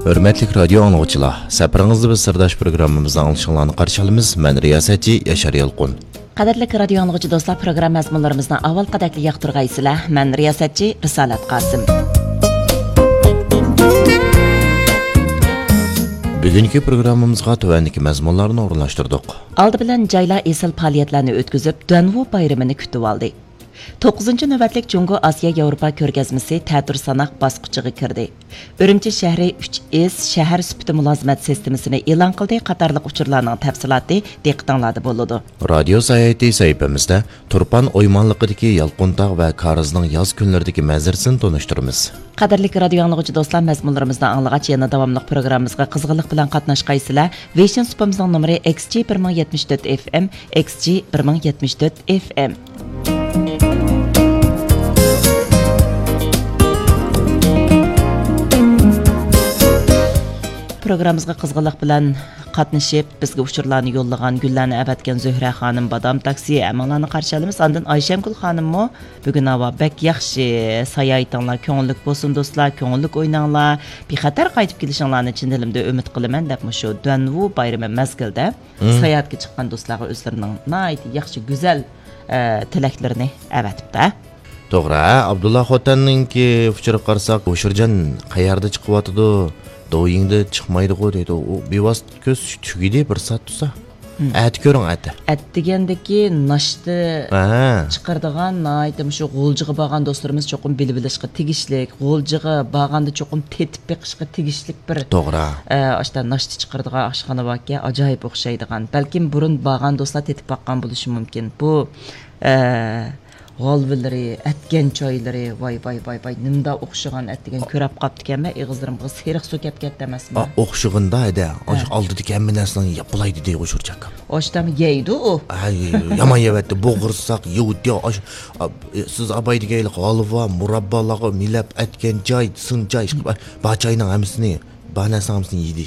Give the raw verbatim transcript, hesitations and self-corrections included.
ھۆرمەتلىك رادىيو ئاڭلىغۇچىلار، سەپىرىڭىزدە بىز سىرداش پروگراممىمىزنى ئاڭلىشىڭلارنى قارشى ئالىمىز. مەن رىياسەتچى ياشار يالقۇن. قەدىرلىك رادىيو ئاڭلىغۇچى دوستلار، پروگرامما مەزمۇنلىرىمىزنى ئاۋۋالقىدەكلا ياقتۇرغايسىلەر. مەن رىياسەتچى رىسالەت قاسىم. بۈگۈنكى پروگراممىمىزغا تۆۋەندىكى مەزمۇنلارنى ئورۇنلاشتۇردۇق. ئالدى بىلەن جايلار ئېسىل پائالىيەتلەرنى ئۆتكۈزۈپ، دۇەنۋۇ بايرىمىنى كۈتۈۋالدى. توققۇزىنچى نۆۋەتلىك جۇڭگو ئاسىيا ياۋروپا كۆرگەزمىسى تەتۈر ساناق باسقۇچىغا كىردى. ئۈرۈمچى شەھىرى ئۈچ ئېس شەھەر سۈپىتى مۇلازىمەت سىستېمىسىنى ئېلان قىلدى قاتارلىق ئۇچۇرلارنىڭ تەپسىلاتى دىققىتىڭلاردا بولىدۇ. رادىيو ساياھىتى سەھىپىمىزدە تۇرپان ئويمانلىقىدىكى يالقۇنتاغ ۋە كارىزنىڭ ياز كۈنلىرىدىكى مەنزىرىسىنى تونۇشتۇرىمىز. قەدىرلىك رادىيو ئاڭلىغۇچى دوستلار، مەزمۇنلىرىمىزنى ئاڭلىغاچ، يەنە داۋاملىق پروگراممىمىزغا قىزغىنلىق بىلەن قاتناشقايسىلەر. ۋېيشىن سۇپىمىزنىڭ نومۇرى ئېكس جى بىر مىڭ يەتمىش تۆت ئېف ئېم، ئېكس جى بىر مىڭ يەتمىش تۆت ئېف ئېم. پروگراممىمىزغا قىزغىنلىق بىلەن قاتنىشىپ، بىزگە ئۇچۇرلارنى يوللىغان، گۈللەرنى ئەۋەتكەن زۆھرە خانىم، بادام تاكسى، ھەممىڭلارنى قارشى ئالىمىز. ئاندىن ئايشەمگۈل خانىممۇ بۈگۈن ھاۋا بەك ياخشى، ساياھىتىڭلار كۆڭۈللۈك بولسۇن دوستلار، كۆڭۈللۈك ئويناڭلار، بىخەتەر قايتىپ كېلىشىڭلارنى چىن دىلىمدىن ئۈمىد قىلىمەن دەپ مۇشۇ دۇەنۋۇ بايرىمى مەزگىلىدە مم. ساياھەتكە چىققان دوستلارغا ئۆزلىرىنىڭ ناھايىتى ياخشى، گۈزەل، ئە، تىلەكلىرىنى ئەۋەتىپتۇ. توغرا، ھە، ئابدۇللا خوتەننىڭكى ئۇچۇرىغا قارىساق، ھوشۇرجان قەيەردە چىقىۋاتىدۇ؟ دويىڭدا چىقمايدىغۇ دەيدۇ. ئۇ بىۋاسىتە كۆز تۈگىدى بىر سائەت تۇرسا. مم. ئەتە كۆرۈڭ، ئەتە. ئەتە دېگەندىكى ناشتا ھە. چىقىرىدىغان، ناھايىتى مۇشۇ غۇلجىغا بارغان دوستلىرىمىز چوقۇم بىلىۋېلىشقا تېگىشلىك، غۇلجىغا بارغاندا چوقۇم تېتىپ بېقىشقا تېگىشلىك بىر، توغرا. ئە، ئاشتا ناشتا چىقىرىدىغان ئاشخانا باركەن، ئاجايىپ ئوخشايدىغان. بەلكىم بۇرۇن بارغان دوستلار تېتىپ باققان بولۇشى مۇمكىن. بۇ، ئە، غالۋىلىرى، ئەتكەن چايلىرى، ۋاي، ۋاي، ۋاي، ۋاي، نېمىدا ئوخشىغان ئەتىگەن كۆرەپ قاپتىكەنمەن، ئېغىزلىرىمغا سېرىق سۇ كەپ كەتتى ئەمەسمۇ؟ ئا، ئوخشىغىندا ھەدە، ئاشۇ ھە. ئالدىدىكى ھەممە نەرسىنى يەپ بولاي دېدى ھوشۇرجان ئاكام. ئاشتام يەيدۇ ئۇ. ھە، يامان يەۋەتتى، بوغۇرساق، يۇۋۇت، يا، ئاشۇ، ئا، سىز ئاباي دېگەيلى غالۋا، مۇراببالارغا مىلەپ، ئەتكەن چاي، سىن چاي، ئىشقىلىپ، بار چاينىڭ ھەممىسىنى، بار نەرسىنىڭ ھەممىسىنى يېدى.